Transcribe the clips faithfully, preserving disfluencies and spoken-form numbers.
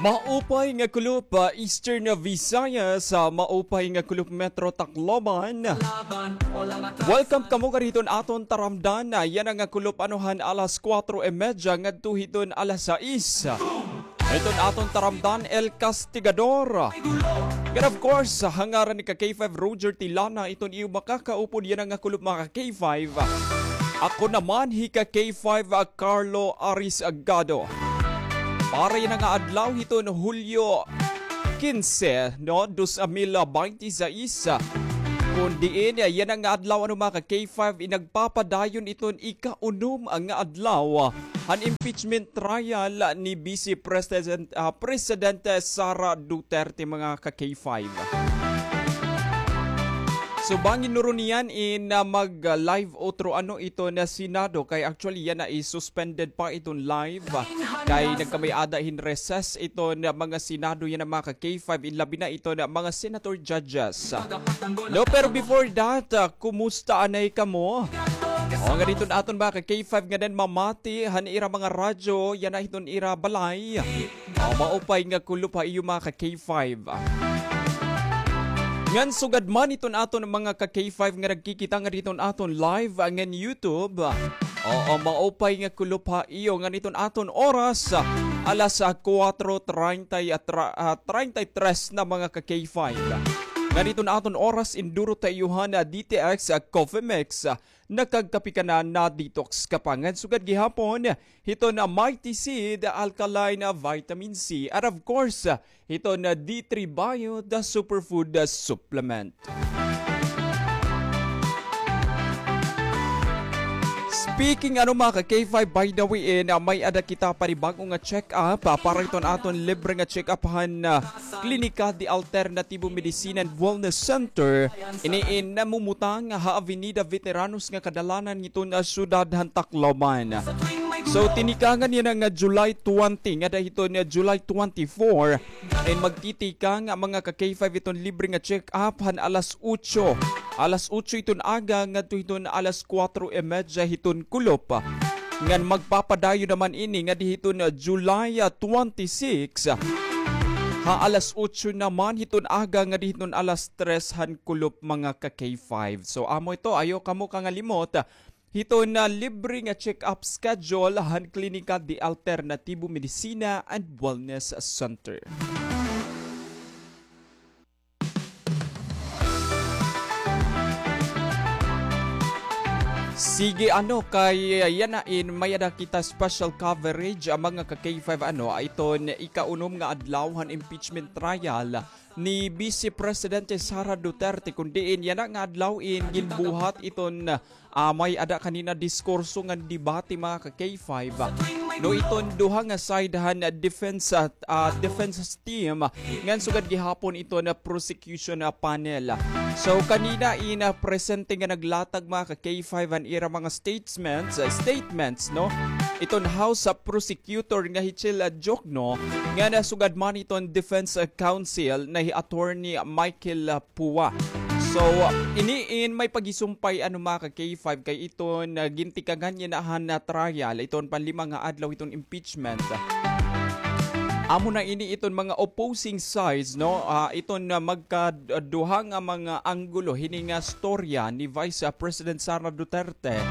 Maupay nga kulop, ah, Eastern Visayas, ah, maupay nga kulop Metro Tacloban. Welcome kamo ngada hiton aton taramdan, ah, yana nga kulop ano han alas kuwatro y medya ngadto hiton alas sais. Hiton aton taramdan, El Castigador. And of course, ha ngaran ni ka K five Roger Tilana, iton iyo makakaupod yana nga kulop, mga ka K five. Ako naman hi ka K five, ah, Carlo Aris Agado. Para yana nga adlaw hiton Hulyo kinse, no, dos mil baynte sais. Kon diin yana nga adlaw, ano, mga ka K five, inagpapadayon iton ikaunom nga adlaw han impeachment trial ni Vice President, ah, Presidente Sara Duterte, mga ka K five. So, bangin nuron niyan in, ah, mag, ah, live otro ano iton Senado, kay actually yana is suspended pa iton live, ah, kay nagkamay-ada hin recess iton mga Senado yana, mga ka K five, in labi na iton mga senator judges. No, pero before that, ah, kumusta anay kamo? O, ngada hiton aton mga ka K five ngada mamati han ira mga radyo yana hiton ira balay. Ah, maupay nga kulop ha iyo, mga ka K five. Ngan sugad man hiton aton mga ka K five nga nagkikita ngada hiton aton live, ah, ngan YouTube. Oo, maupay nga kulop ha iyo ngan hiton aton oras, ah, alas, ah, kuwatro treinta y, ah, tra-, ah, treinta y tres na, mga ka K five. Ngan hiton aton oras, indurot ha iyo han, ah, D T X, ah, Coffee Mix, ah, nakagkape ka na, na-detox ka pa. Ngan sugad gihapon, hiton Mighty Seed Alkaline Vitamin C. And of course, hiton D three Bio, the superfood supplement. Speaking ano, mga ka K five, by the way, eh, na may-ada kita panibag-o nga check-up, ah, para hiton aton libre nga check-up han, ah, Klinika de Alternativo Medicina and Wellness Center, ini in namumutang ha Avenida Veteranos nga kadalanan hiton, ah, siyudad han Tacloban. So, tinikangan yana nga July twenty ngada hiton, ah, July twenty-four, in magtitikang, ah, mga ka K five, iton libre nga check-up han alas otso, alas otso hiton aga ngadto hiton alas kuwatro y medya hiton kulop. Ngan magpapadayon naman ini ngadi hiton, ah, July, ah, twenty-six, ha alas otso naman hiton aga ngadi hiton alas tres han kulop, mga ka K five. So, amo ito, ayaw kamo kangalimot, ah, hiton, ah, libre nga check-up schedule han Klinika de Alternativo Medicina and Wellness Center. Sige, ano, kay, ah, yana in may-ada kita special coverage, ah, mga ka K five, ano, ah, iton ikaunom nga adlaw han impeachment trial ni Vice Presidente Sara Duterte, kon diin yana nga adlaw in ginbuhat iton, ah, may-ada kanina diskurso ngan debate, mga ka K five. No, iton duha nga side han, ah, defense, ah, ah, defense team, ngan sugad gihapon iton, ah, prosecution, ah, panel. So, kanina in, ah, presente nga naglatag, mga ka K five, an ira mga statements, ah, statements, no? Iton House, ah, Prosecutor nga hi Chel, ah, Diokno, ngan sugad man iton Defense, ah, Counsel na hi Attorney Michael, ah, Pua. So, ini in may paghisumpay, ano, mga ka K five, kay iton, ah, gintikangan yana han, ah, trial, iton panlima nga adlaw iton impeachment. Amo na ini iton mga opposing sides, no? Ah, iton, ah, magkaduha nga mga anggulo hini nga storya ni Vice, ah, President Sara Duterte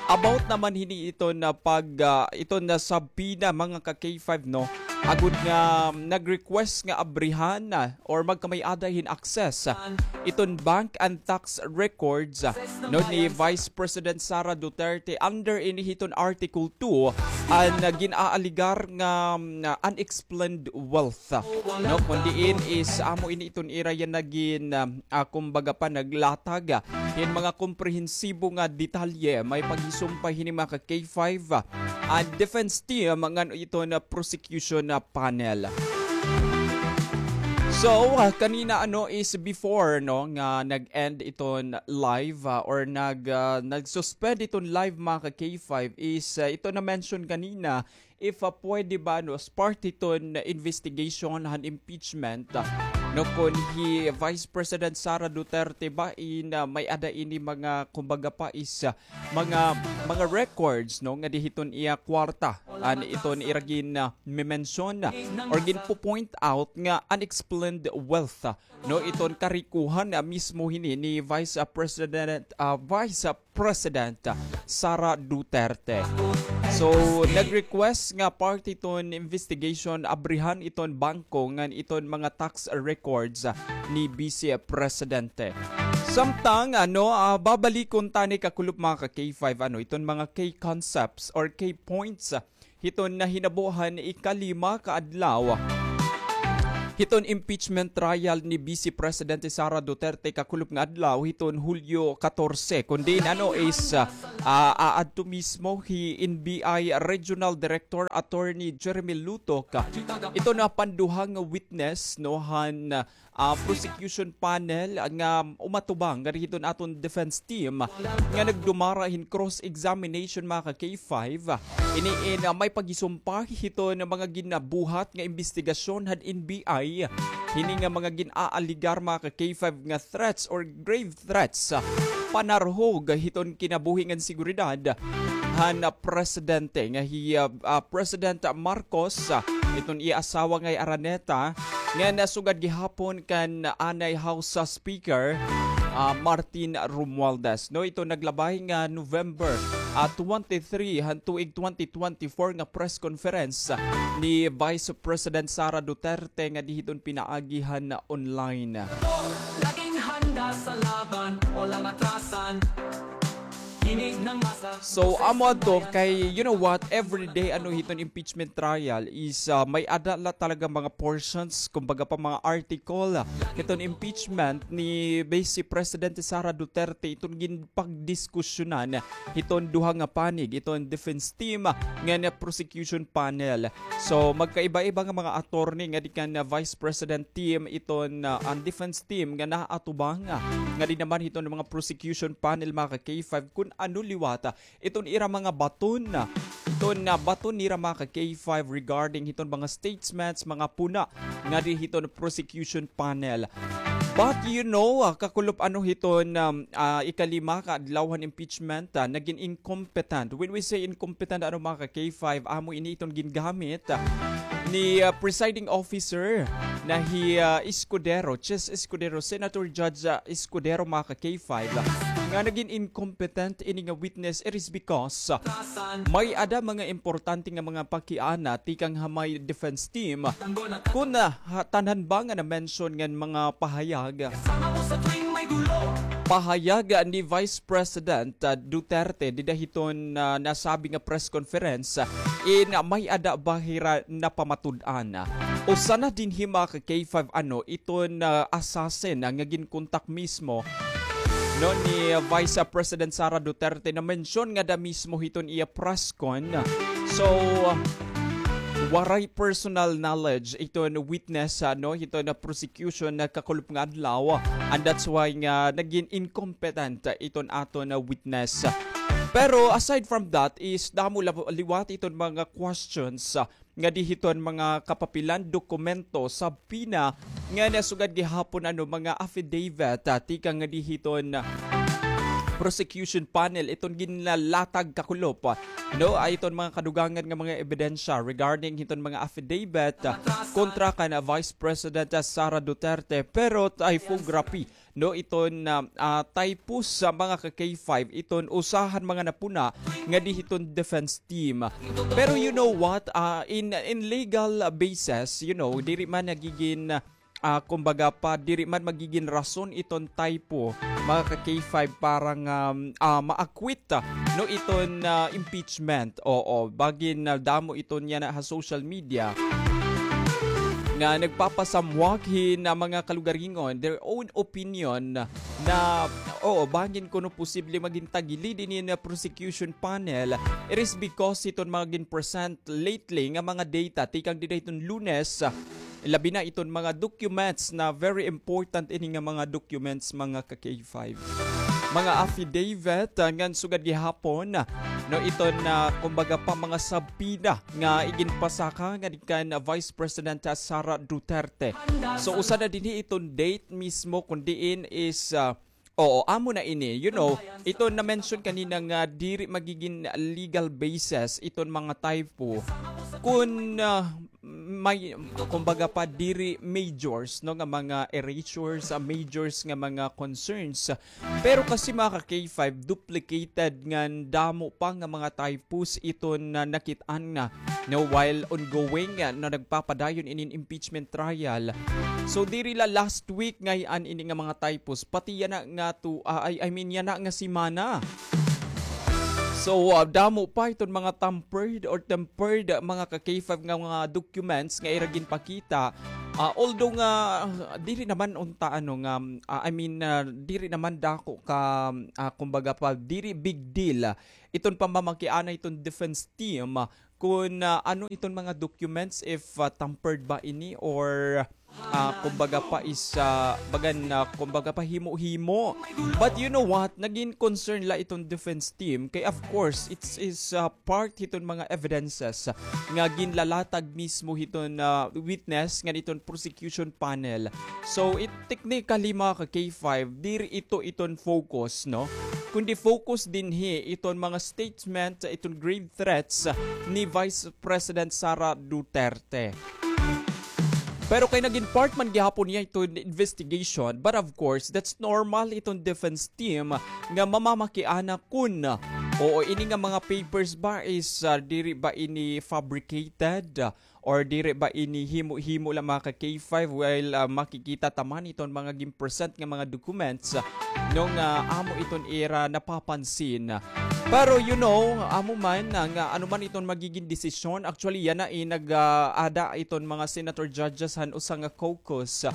about naman hini iton, ah, pag, ah, iton, ah, subpoena, mga ka K five, no? Agod nga nag-request nga abrihan, ah, or magkamay-ada hin access, ah, iton bank and tax records, ah, no, ni Vice President Sara Duterte under ini hiton Article two, an, ah, gin-aaligar nga, mm, ah, unexplained wealth, ah, no, kon diin is amo ini iton ira yana gin, ah, ah, kumbaga pa naglatag, ah, hin mga komprehensibo nga detalye, may paghisumpay hini, mga ka K five, ah, an defense team ngan iton prosecution, ah, panel. So, ah, kanina, ano, is before, no, nga nag-end iton live, ah, or nag, ah, nag-suspend iton live, mga ka K five, is, ah, ito na-mention kanina, if, ah, pwede ba, no, as part hiton investigation han impeachment, ah, no, kon hi Vice President Sara Duterte ba in, ah, may-ada ini mga, kumbaga pa is, ah, mga, mga records, no, ngadi hiton iya kwarta. An iton ira gin, ah, memensyon, ah, or ginpo-point out nga unexplained wealth, ah, no, iton karikohan, ah, mismo hini ni Vice, ah, President, ah, Vice, ah, President, ah, Sara Duterte. So, nag-request nga part hiton investigation, abrihan iton bangko ngan iton mga tax records, ah, ni Vice Presidente. Samtang, ano, ah, babalikon tani kakulop, mga ka-K five, ano, iton mga key concepts or key points, ah, hiton nahinabo han ikalima ka adlaw hiton impeachment trial ni Vice Presidente Sara Duterte kakulop nga adlaw hiton Hulyo katorse, kun diin, ano, is, ah, ah, aadto mismo hi N B I Regional Director Attorney Jeremy Lutok, ah, iton, ah, panduha nga witness, no, han, ah, ah, prosecution panel nga umatubang ngadi hiton aton defense team nga nagdumara hin cross-examination, mga ka-K five. Ini in, ah, may pagisumpa hiton mga ginabuhat nga imbestigasyon han N B I. Hini nga mga gin-aaligar, mga ka-K five, nga threats or grave threats, ah, panarhog hiton kinabuhi ngan seguridad han, ah, presidente nga hi, ah, ah, President Marcos, ah, iton iya asawa nga hi Araneta, ngan, ah, sugad gihapon kan anay House, ah, Speaker, ah, Martin Romualdez. No, ito naglabay nga November, ah, twenty-three han tuig twenty twenty-four nga press conference, ah, ni Vice President Sara Duterte ngadi hiton pinaagi han online. Laging handa sa laban, walang atrasan. Kinig ng masa. So, amo adto kay, you know what, every day, ano, hiton impeachment trial is, ah, may-ada la talaga mga portions, kumbaga pa, mga article, ah, hiton impeachment ni Vice Presidente Sara Duterte, iton ginpagdiskusyonan hiton duha nga panig, iton defense team, ah, ngan prosecution panel. So, magkaiba-iba nga mga attorney ngadi kan, ah, Vice President team, iton, ah, an defense team nga naatubang, ah, ngadi naman hiton mga prosecution panel, mga ka-K five, kun ano liwat, ah, iton ira mga baton, ah, iton, ah, baton nira, mga ka-K five, regarding hiton mga statements, mga puna ngadi hiton prosecution panel. But you know, ah, kakulop, ano, hiton, um, ah, ikalima ka adlaw han impeachment, ah, nagin incompetent. When we say incompetent, ano, mga ka-K five, amo ini iton gingamit, ah, ni, ah, presiding officer na hi, ah, Escudero, Chis Escudero, Senator Judge, ah, Escudero, mga ka-K five, ah, nga nagin incompetent ini nga witness. It is because, ah, may-ada mga importante nga mga pakiana tikang ha may defense team. Kun, ah, ha, tanan ba nga na-mention ngan mga pahayag, pahayag ni Vice President, ah, Duterte dida hiton, ah, nasabi nga press conference, ah, in, ah, may-ada ba hira napamatud-an? Usa na dinhi, mga ka-K five, ano, iton, ah, assassin, ah, nga ginkontak mismo, no, ni Vice President Sara Duterte, na-mention ngada mismo hiton iya press con. So, waray personal knowledge iton witness, ah, no, hiton prosecution kakulop nga adlaw. And that's why nga nagin incompetent iton aton witness. Pero aside from that is damo la-, liwat iton mga questions, ah, ngadi hiton mga kapapilan, dokumento, subpoena, nga nasugad gihapon, ano, mga affidavit, ah, tikang ngadi hiton, ah, prosecution panel, iton ginlalatag kakulop, ah, no, ay iton mga kadugangan nga mga ebidensya regarding hiton mga affidavit, ah, kontra kan, ah, Vice President, ah, Sara Duterte. Pero typography, no, iton, ah, ah, typos sa mga ka-K five, iton usa han mga napuna ngadi hiton defense team. Pero you know what? Ah, in, in legal basis, you know, diri man nagigin, ah, kumbaga pa, diri man magigin rason iton typo, mga ka-K five, para nga, um, ah, ma-acquit, ah, no, iton, ah, impeachment. Oo, bangin, ah, damo iton yana ha social media nga nagpapasamwak hin, ah, mga kalugaringon, their own opinion na, oo, bangin kuno posible magin tagilid ini nga prosecution panel. It is because iton mga gin-present lately nga mga data tikang dida hiton Lunes, ah, labi na iton mga documents na very important ini nga mga documents, mga ka-K five. mga affidavit, ah, ngan sugad gihapon, ah, no, iton, ah, kumbaga pa, mga subpoena nga iginpasaka ngan kan Vice President, ah, Sara Duterte. So, usa na dinhi iton date mismo kun diin is, ah, oo, amo na ini. You know, iton na-mention kanina nga diri magigin legal basis iton mga typo kun, ah, may, kumbaga pa, diri majors, no, nga mga erasures, ah, majors nga mga concerns. Pero kasi, mga ka-K five, duplicated ngan damo pa nga mga typos iton na nakit-an na, no, while ongoing, ah, na nagpapadayon inin impeachment trial. So, diri la last week ngay-an ini nga mga typos, pati yana nga to, ah, I, I mean, yana nga semana. So, ah, damo pa iton mga tampered or tempered, ah, mga ka-K five nga mga documents nga ira ginpakita. Ah, although nga, ah, diri naman unta, ano, nga, ah, I mean, ah, diri naman dako ka, ah, kumbaga pa, diri big deal, ah, iton pamamakiana iton defense team, ah, kun, ah, ano iton mga documents, if, ah, tampered ba ini or, ah, kumbaga pa is, ah, bagan, ah, kumbaga pa, himo-himo. But you know what? Nagin concern la iton defense team. Kay of course, it's is, ah, part hiton mga evidences nga ginlalatag mismo hiton, ah, witness ngan iton prosecution panel. So, it technically, mga ka-K five, diri ito iton focus, no? Kundi focus dinhi iton mga statement, iton grave threats ni Vice President Sara Duterte. Pero kay nagin part man gihapon niya iton investigation, but of course, that's normal iton defense team nga mamamakiana kun, oo, ini nga mga papers ba is, ah, diri ba ini fabricated, ah, or diri ba ini himo-himo la, mga ka-K five, while, ah, makikita ta man iton mga gin-present nga mga documents, ah, no, nga amo iton ira napapansin. Pero, you know, amo man, ah, nga ano man iton magigin desisyon, actually, yana, eh, nag, ah, ada iton mga senator judges han usa nga caucus.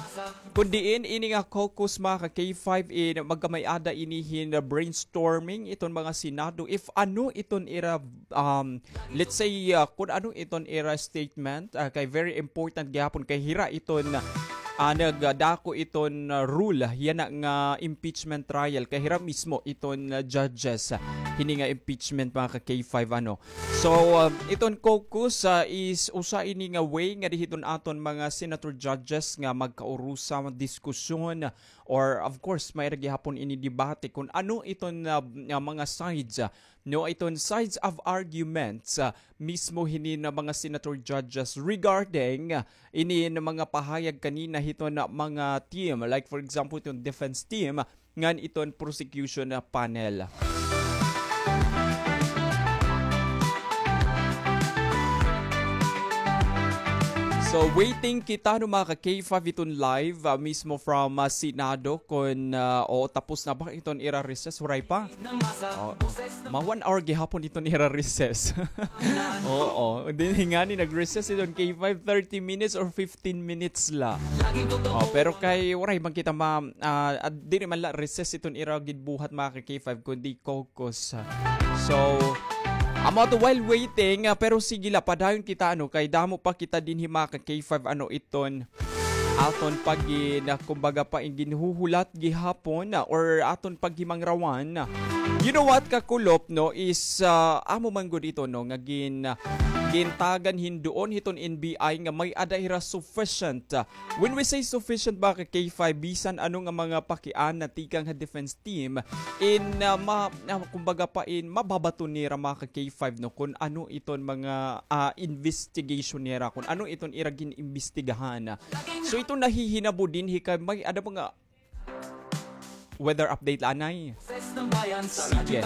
Kun diin ini nga caucus, mga ka-K five, eh, magkamay-ada ini hin brainstorming iton mga Senado if ano iton ira, um, let's say, ah, kun ano iton ira statement, ah, kay very important gihapon kay hira iton, ah, nagdako iton, ah, rule yana nga impeachment trial kay hira mismo iton, ah, judges, ah, hini nga impeachment, mga ka-K five, ano. So, ah, iton caucus, ah, is usa ini nga way nga dinhi iton aton mga senator judges nga magkaurusa, diskusyon, or of course, may ra gihapon ini debate kun ano iton, ah, ah, mga sides, ah, no, iton sides of arguments, ah, mismo hini nga mga senator judges regarding, ah, ini nga mga pahayag kanina hiton, ah, mga team, like for example, iton defense team, ngan iton prosecution, ah, panel. So, waiting kita, no, mga ka-K five, iton live, ah, mismo from, ah, Senado, kun, ah, o, tapos na ba iton ira recess? Waray pa. O, ma one hour gihapon iton ira recess. Oo, dinhi ngani nag-recess iton K five, thirty minutes or fifteen minutes la. O, pero kay waray man kita ma-, ah, diri man la recess iton ira ginbuhat, mga ka-K five, kundi caucus. So, amo ato while waiting, ah, pero sige la, padayon kita, ano, kay damo pa kita dinhi, mga ka-K five, ano, iton aton pagin-, kumbaga pa, ginhuhulat gihapon, ah, or aton paghimangrawan. You know what, kakulop, no, is, ah, amo man gud ito, no, nga gin-, gintagan hin duon hiton N B I nga may-ada hira sufficient, ah, when we say sufficient, mga ka-K five, bisan ano nga mga pakiana tikang ha defense team, in, ah, ma-, ah, kumbaga pa, in mababaton nira, mga ka-K five, no, kun ano iton mga, ah, investigation nira, kun ano iton ira gin-imbestigahan. So, ito nahihinabo dinhi kay may-ada mga weather update la anay. Sige.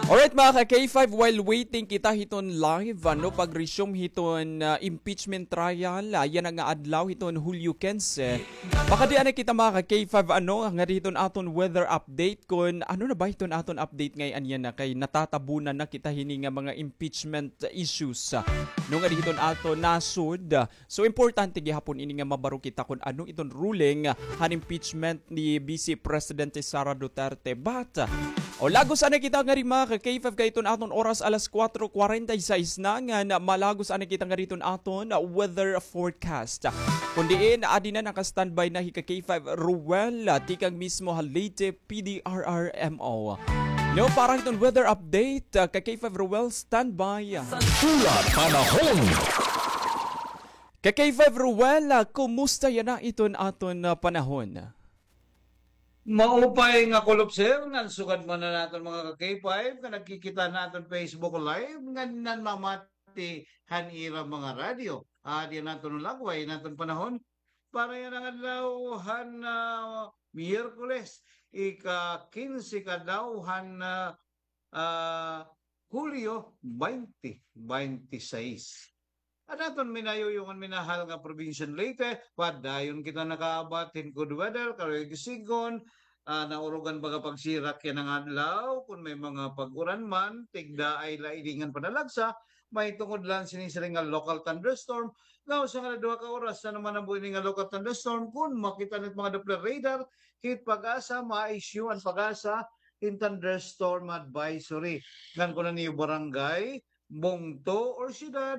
Alright, mga ka-K five, while waiting kita hiton live, ano, pag-resume hiton, ah, impeachment trial, ah, yana nga adlaw hiton Hulyo kinse. Makadi anay kita, mga ka-K five, ano, ngadi hiton aton weather update kun ano na ba hiton aton update ngay-an yana kay natatabunan na kita hini nga mga impeachment issues, ah, no, ngadi hiton aton nasod. So, importante gihapon ini nga mabaro kita kun ano iton ruling han impeachment ni Vice Presidente Sara Duterte. Tebat. O, lagos anay kita ngadi, mga ka-K five, kay iton aton oras alas kuwatro kwarenta y seis na, ngan malagos anay kita ngadi iton aton weather forecast. Kon diin, adi na naka-standby na hi ka-K five Ruel, ah, tikang mismo ha Leyte P D R R M O. No, para hiton weather update, ah, ka-K five Ruel, standby. Tula panahon. Ka-K five Ruel, ah, kumusta yana iton aton, ah, panahon? Maupay nga kulop, sir, ngan sugad man an aton mga ka-K five nga nagkikita han aton Facebook Live ngan nanmamati han ira mga radyo. Adi an aton lagway han aton panahon para yana nga adlaw han, ah, Miyerkules, ika-kinse ka adlaw han, ah, ah, Hulyo baynte baynte sais. An aton minayuyong ngan minahal nga probinsya han Leyte, padayon kita nakaabat hin good weather, karuyag sidngon, ah, naurugan baga pagsirak yana nga adlaw, kon may mga pag-uran man, tigdaay la ini ngan panalagsa, mahitungod la sini sila nga local thunderstorm, nga usa ngan duha ka oras na naman an buhi ini nga local thunderstorm, kon makita niyo it mga Doppler radar, hit PAGASA, ma-issue an PAGASA hin thunderstorm advisory. Ngan kon an iyo barangay, bungto, or syudad,